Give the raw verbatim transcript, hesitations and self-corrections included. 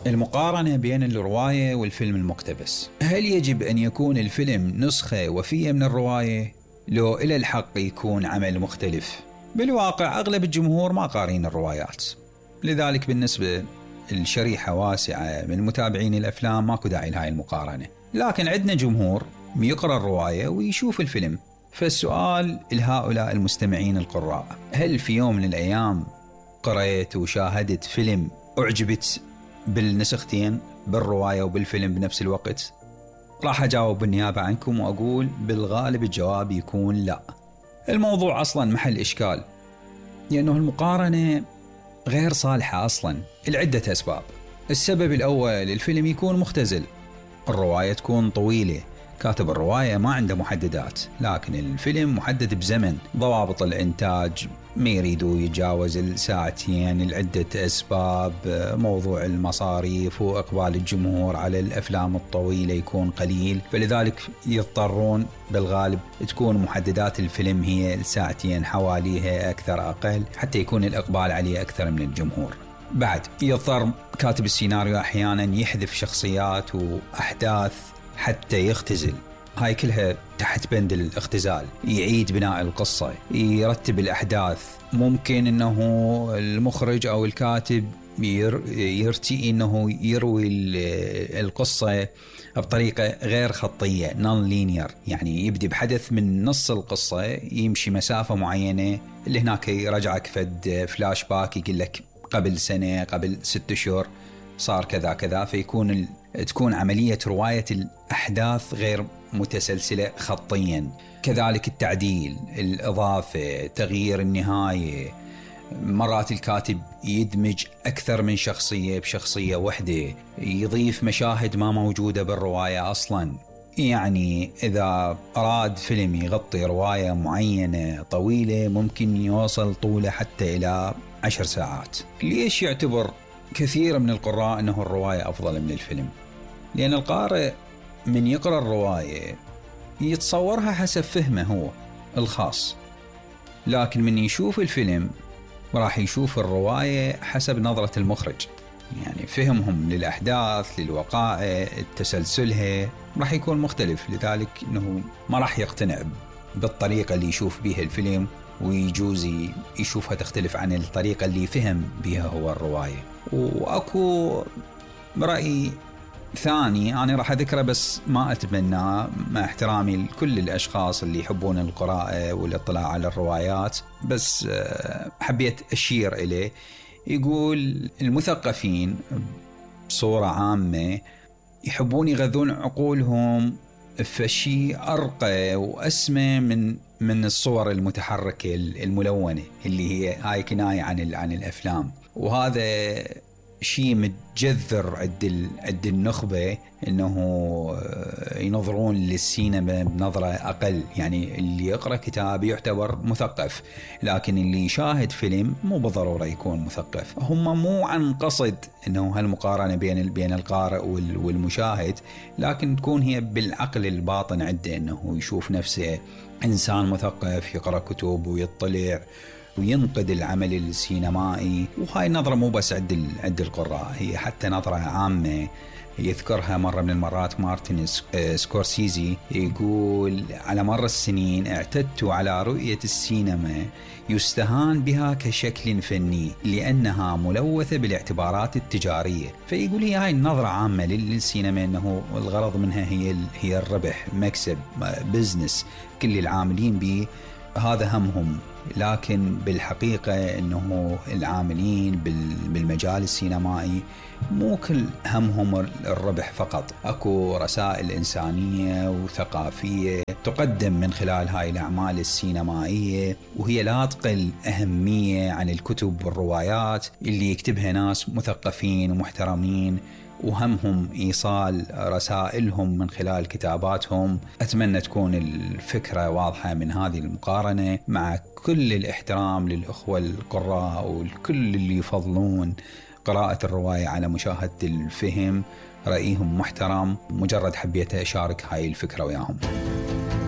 المقارنة بين الرواية والفيلم المقتبس. هل يجب أن يكون الفيلم نسخة وفية من الرواية؟ لو إلى الحق يكون عمل مختلف؟ بالواقع أغلب الجمهور ما قارين الروايات، لذلك بالنسبة لشريحة واسعة من متابعين الأفلام ماكو داعي لهاي المقارنة. لكن عندنا جمهور يقرأ الرواية ويشوف الفيلم. فالسؤال لهؤلاء المستمعين القراء: هل في يوم من الأيام قرأت وشاهدت فيلم أعجبت بالنسختين، بالرواية وبالفيلم بنفس الوقت؟ راح أجاوب بالنيابة عنكم وأقول بالغالب الجواب يكون لا. الموضوع أصلا محل إشكال، لأنه المقارنة غير صالحة أصلا لعدة أسباب. السبب الأول: الفيلم يكون مختزل، الرواية تكون طويلة، كاتب الرواية ما عنده محددات، لكن الفيلم محدد بزمن. ضوابط الإنتاج ما يريدوا يتجاوز الساعتين لعدة أسباب، موضوع المصاريف وإقبال الجمهور على الأفلام الطويلة يكون قليل، فلذلك يضطرون بالغالب تكون محددات الفيلم هي الساعتين حواليها أكثر أقل حتى يكون الإقبال عليه أكثر من الجمهور. بعد يضطر كاتب السيناريو أحيانا يحذف شخصيات وأحداث حتى يختزل، هاي كلها تحت بند الاختزال. يعيد بناء القصة، يرتب الأحداث. ممكن أنه المخرج أو الكاتب يرتئي أنه يروي القصة بطريقة غير خطية non linear، يعني يبدي بحدث من نص القصة يمشي مسافة معينة، اللي هناك يرجعك فد فلاش باك يقول لك قبل سنة قبل ست شهور صار كذا كذا، فيكون ال... تكون عملية رواية الأحداث غير متسلسلة خطيا. كذلك التعديل، الإضافة، تغيير النهاية. مرات الكاتب يدمج أكثر من شخصية بشخصية واحدة، يضيف مشاهد ما موجودة بالرواية أصلا. يعني إذا أراد فيلم يغطي رواية معينة طويلة ممكن يوصل طوله حتى إلى عشر ساعات. ليش يعتبر كثير من القراء أنه الرواية أفضل من الفيلم؟ لأن القارئ من يقرأ الرواية يتصورها حسب فهمه هو الخاص، لكن من يشوف الفيلم راح يشوف الرواية حسب نظرة المخرج، يعني فهمهم للأحداث للوقائع تسلسلها راح يكون مختلف، لذلك أنه ما راح يقتنع بالطريقة اللي يشوف بها الفيلم، ويجوز يشوفها تختلف عن الطريقة اللي فهم بها هو الرواية. وأكو رأي ثاني أنا راح أذكره بس ما أتبناه، مع احترامي لكل الأشخاص اللي يحبون القراءة والاطلاع على الروايات، بس حبيت أشير إليه. يقول المثقفين بصورة عامة يحبون يغذون عقولهم في شيء أرقى وأسمى من من الصور المتحركة الملونة اللي هي هاي كناية عن عن الأفلام، وهذا شيء متجذر عند عند النخبة انه ينظرون للسينما بنظرة اقل. يعني اللي يقرأ كتاب يعتبر مثقف، لكن اللي يشاهد فيلم مو بالضرورة يكون مثقف. هم مو عن قصد انه هالمقارنة بين بين القارئ والمشاهد، لكن تكون هي بالعقل الباطن عنده انه يشوف نفسه انسان مثقف يقرأ كتب ويطلع وينقد العمل السينمائي. وهاي النظرة مو بس عند عند القراء، هي حتى نظرة عامة يذكرها مرة من المرات مارتن سكورسيزي. يقول على مر السنين اعتدت على رؤية السينما يستهان بها كشكل فني لأنها ملوثة بالاعتبارات التجارية. فيقول هي هاي النظرة عامة للسينما أنه الغرض منها هي هي الربح، مكسب، بزنس، كل العاملين به هذا همهم. لكن بالحقيقة أنه العاملين بالمجال السينمائي مو كل همهم الربح فقط، أكو رسائل إنسانية وثقافية تقدم من خلال هاي الأعمال السينمائية، وهي لا تقل أهمية عن الكتب والروايات اللي يكتبها ناس مثقفين ومحترمين وهمهم إيصال رسائلهم من خلال كتاباتهم. أتمنى تكون الفكرة واضحة من هذه المقارنة، مع كل الاحترام للأخوة القراء والكل اللي يفضلون قراءة الرواية على مشاهدة الفيلم. رأيهم محترم، مجرد حبيت أشارك هاي الفكرة وياهم.